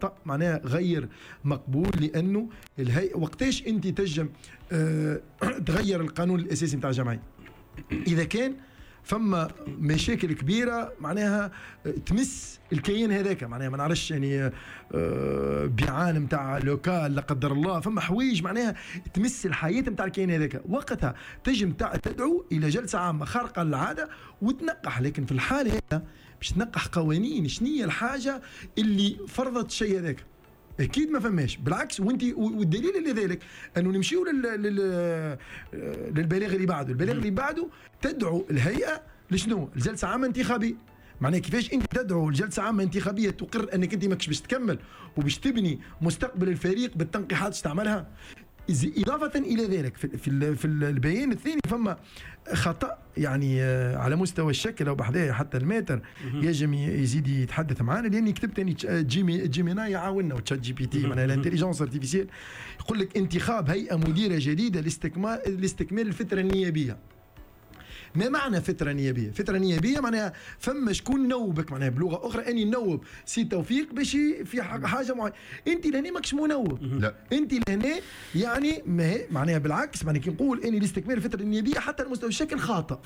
خطا، معناها غير مقبول، لانه الهيئة وقتاش انت تجم تغير القانون الاساسي نتاع الجمعية؟ اذا كان فما مشاكل كبيرة معناها تمس الكيان هذاك، معناها ما نعرفش يعني بيعان نتاع local لا قدر الله، فما حوايج معناها تمس الحياة نتاع الكيان هذاك، وقتها تجم تدعو الى جلسه عامة خارقة للعادة وتنقح. لكن في الحالة هذا باش تنقح قوانين، شنية الحاجة اللي فرضت الشيء هذاك؟ اكيد ما فماش، بالعكس. وانت والدليل لذلك انه نمشيو للبلاغ اللي بعده، البلاغ اللي بعده تدعو الهيئة لشنو؟ الجلسة عامة انتخابية. معناها كيفاش انت تدعو الجلسة عامة انتخابية تقر انك انت ماكش باش تكمل وباش تبني مستقبل الفريق بالتنقيحات تستعملها؟ إضافة إلى ذلك في البيان الثاني فما خطأ يعني على مستوى الشكل أو بحذايا حتى ال maître يجم يزيد يتحدث معنا، لأني كتبت أني Gemini يعاوننا و ChatGPT، معناها l'intelligence artificielle، يقول لك انتخاب هيئة مديرة جديدة لاستكمال الفترة النيابية. ما معنى فترة نيابية؟ فترة نيابية معناها فما شكون نوبك، معناها بلغة أخرى أني نوب سي توفيق باش في حاجة معينة. أنت لهنا ماكش منوب. لا. أنت لهنا يعني معناها بالعكس، معناها كي نقول أني لاستكمال الفترة النيابية حتى المستوى الشكل خاطئ.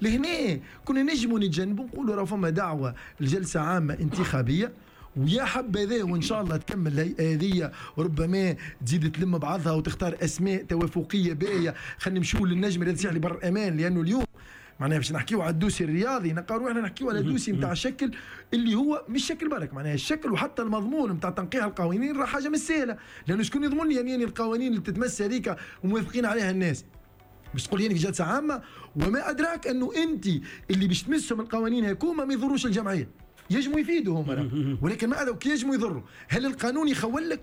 لهنا كنا نجموا نتجنبوا نقولوا راه فما دعوة لجلسة عامة انتخابية، ويا حبذا وان شاء الله تكمل الهيئة هذه وربما تزيد تلم بعضها وتختار اسماء توافقيه باهيه. خلينا نمشيو للنجم الرياضي الساحلي بر امان، لانه اليوم معناها باش نحكيو على ال dossier الرياضي نلقاو روحنا نحكيو على dossier نتاع شكل اللي هو مش شكل برك، معناها الشكل وحتى المضمون نتاع تنقيح القوانين راه حاجة مش سهلة، لانه شكون يضمن لي يعني القوانين اللي تتمس هذيك وموافقين عليها الناس؟ باش تقول يعني في جلسه عامة، وما ادراك انه انت اللي باش تمسهم القوانين هكوما ما يضروش الجمعية، يجموا يفيدوا هما، ولكن ما هذا يجموا يضروا. هل القانون يخول لك؟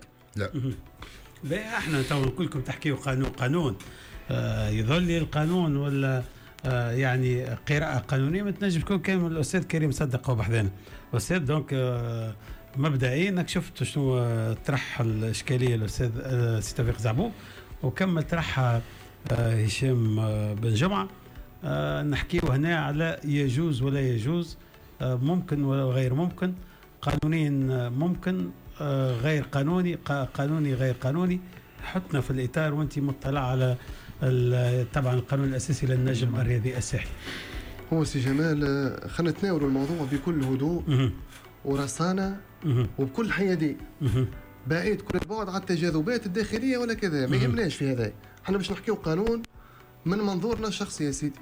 لا. احنا تو كلكم تحكيوا قانون قانون، يظل القانون ولا يعني قراءة قانونية ما تنجم تكون كان الأستاذ كريم صدق هو بحذانا. أستاذ donc مبدئيا انك شفت شنو طرح الإشكالية الأستاذ سي توفيق زعبوب، وكمل طرحها هشام بن جمعة. نحكيو هنا على يجوز ولا يجوز، ممكن ولا غير ممكن، قانونيا ممكن، غير قانوني، قانوني غير قانوني. حطنا في الإطار وأنت مطلع على طبعا القانون الأساسي للنجم الرياضي الساحلي. هو سي جمال خلينا نتناولوا الموضوع بكل هدوء ورصانة وبكل حيادية، بعيد كل البعد على التجاذبات الداخلية ولا كذا، ما يهمناش في هذا. احنا باش نحكيو قانون من منظورنا الشخصي يا سيدي.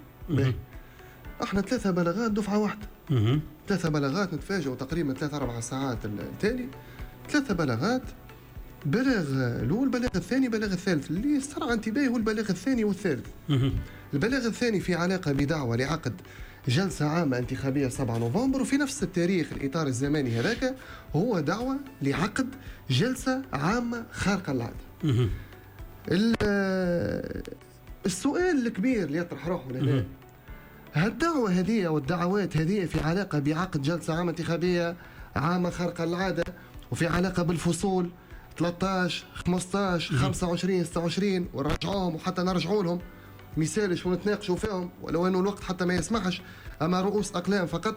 احنا 3 بلاغات دفعة واحدة، 3 بلاغات نتفاجئوا تقريبا 3-4 ساعات التالي، 3 بلاغات، بلاغ الاول، بلاغ الثاني، بلاغ الثالث. اللي استرعى انتباهي هو البلاغ الثاني والثالث. البلاغ الثاني في علاقة بدعوة لعقد جلسة عامة انتخابية 7 نوفمبر، وفي نفس التاريخ الإطار الزماني هذاك هو دعوة لعقد جلسة عامة خارقة للعادة. السؤال الكبير اللي يطرح روحه لهنا، هالدعوة هذه والدعوات هذه في علاقة بعقد جلسة عامة انتخابية عامة خارقة للعادة، وفي علاقة بالفصول 13 15 25 26 ونرجعوهم وحتى نرجعوا لهم مثالش ونتناقشوا فيهم، ولو انه الوقت حتى ما يسمحش، اما رؤوس اقلام فقط.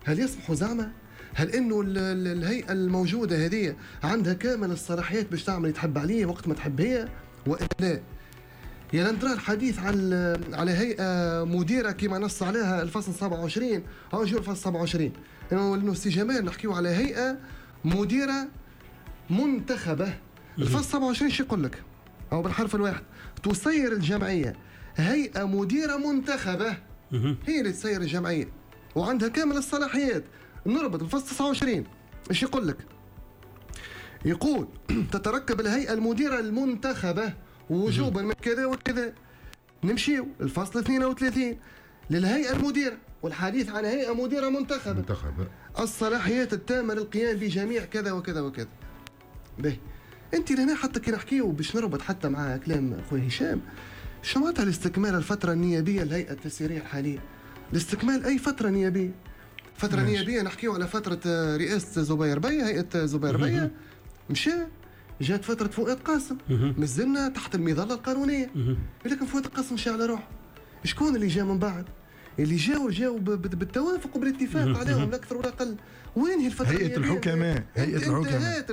هل يسمحوا زعما؟ هل انه الهيئة الموجودة هذه عندها كامل الصلاحيات باش تعمل تحب عليه وقت ما تحب هي والا لا؟ يا ندرى الحديث على هيئة مديره كما نص عليها الفصل 27 او جو الفصل 27، انه سي جمال نحكيو على هيئة مديره منتخبه. الفصل 27 شو يقول لك؟ او بالحرف الواحد، تسير الجمعية هيئة مديره منتخبه، هي اللي تسير الجمعية وعندها كامل الصلاحيات. نربط الفصل 29 ايش يقول لك؟ يقول تتركب الهيئة المديرة المنتخبه وجوبا من كذا وكذا. نمشيو الفصل 32 للهيئة المديرة، والحديث عن هيئة مديره منتخبه، الصلاحيات التامة للقيام بجميع كذا وكذا وكذا. به انت لهنا حتى كي نحكيو باش نربط حتى مع كلام خويا هشام، شو معناتها الاستكمال الفترة النيابية للهيئة التسييريه الحالية؟ الاستكمال اي فترة نيابية؟ فترة نيابية نحكيو على فترة رئاسة زبير بيه، هيئة زبير بيه مشى، جات فترة فؤاد قاسم، مازلنا تحت المظلة القانونية، لكن فؤاد قاسم مشى على روحه. شكون اللي جا من بعد؟ اللي جاوا بالتوافق وبالاتفاق عليهم لا اكثر ولا اقل. وين هي الفترة؟ هيئة الحكماء، هيئة الحكماء.